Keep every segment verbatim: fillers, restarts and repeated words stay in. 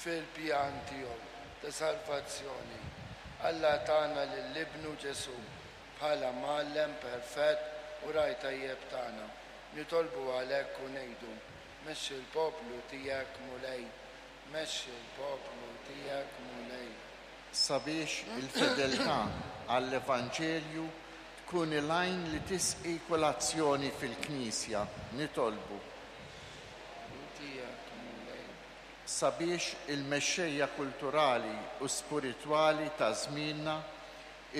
Fil-pjan tiegħu ta' salvazzjoni, Alla tana lil Ibnu Ġesù bħala mgħallem perfett u ragħaj tajjeb tagħna. Nitolbu għalhekk u ngħidu: Mexxi l-poplu tiegħek, Mulej, mexxi l-poplu tiegħek, Mulej. Sabiex il-fedeltà għall-Evanġelju tkun il-għajn li tisqi kull azzjoni fil-Knisja, nitolbu. Tiegħek, Mulej. Sabiex il-mexxejja kulturali u spiritwali ta' żmienna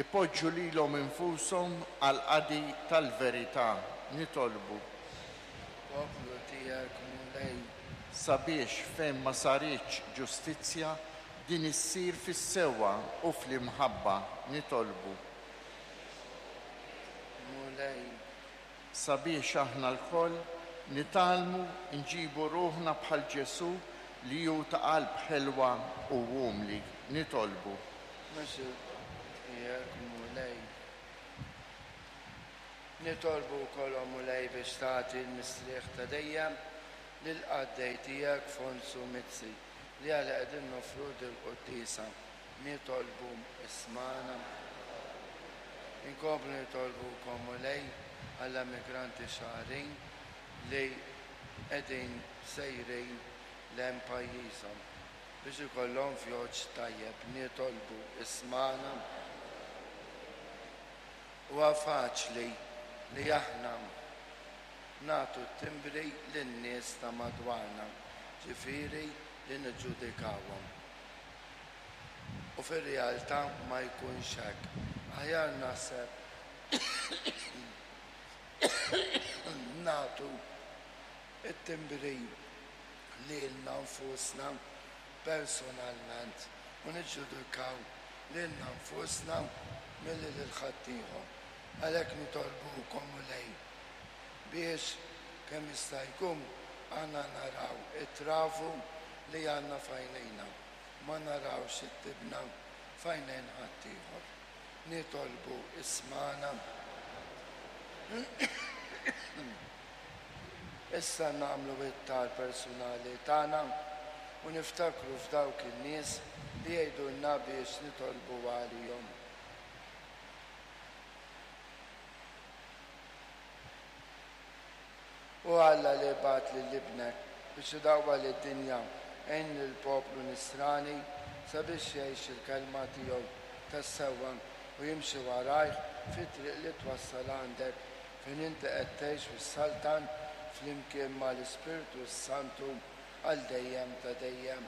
ipoġġu lilhom infushom għall-qadi tal-verità, nitolbu. Poplu tiegħek, Mulej. Sabiex fejn ma saritx ġustizzja, din issir fis-sewwa u fl-imħabba, nitolbu. Mulej. Sabiex aħna lkoll nitgħallmu nġibu ruħna bħal Ġesù li hu ta' qalb ħelwa u umli, nitolbu. Mexxi tiegħek, Mulej. Nitolbu wkoll, o Mulej, biex tagħti l-mistrieħ ta' dejjem lill-qaddej tiegħek Fonsu Mizzi li għalih qegħdin noffru dil-quddiesa. Nitolbu, ismagħna. Inkomplu nitolbu wkoll, Mulej, għall-emigranti Xagħrin li qegħdin sejrin lejn pajjiżhom biex ikollhom vjaġġ tajjeb. Nitolbu, ismagħna. Huwa faċli li aħna nagħtu t-timbri lin-nies ta' madwarna, ġifieri li niġġudikawhom. U fir-realtà ma jkunx hekk. Aħjar naħseb nagħtu t-timbri lilna nfusna personalment u niġġudikaw lilna nfusna milli lil ħaddieħor. Għalhekk nitolbukom, Mulej, biex kemm jista' jkun aħna naraw it-travu li għandna f'għajnejna, ma narawx it-tibna f'għajnejn ħaddieħor. Nitolbu, ismagħna. Issa nagħmlu it-talb personali tagħna u niftakru f'dawk in-nies li jgħidulna biex nitolbu għalihom. U Alla li bagħat lil Ibnek biex idawwal id-dinja, għin lill-poplu nisrani sabiex jgħix il-kelma tiegħu tas-sewwa u jimxi warajh fit-triq li twassal għandek fejn inti qed tgħix u ssaltan flimkien mal-Ispirtu s-Santu għal dejjem ta' dejjem.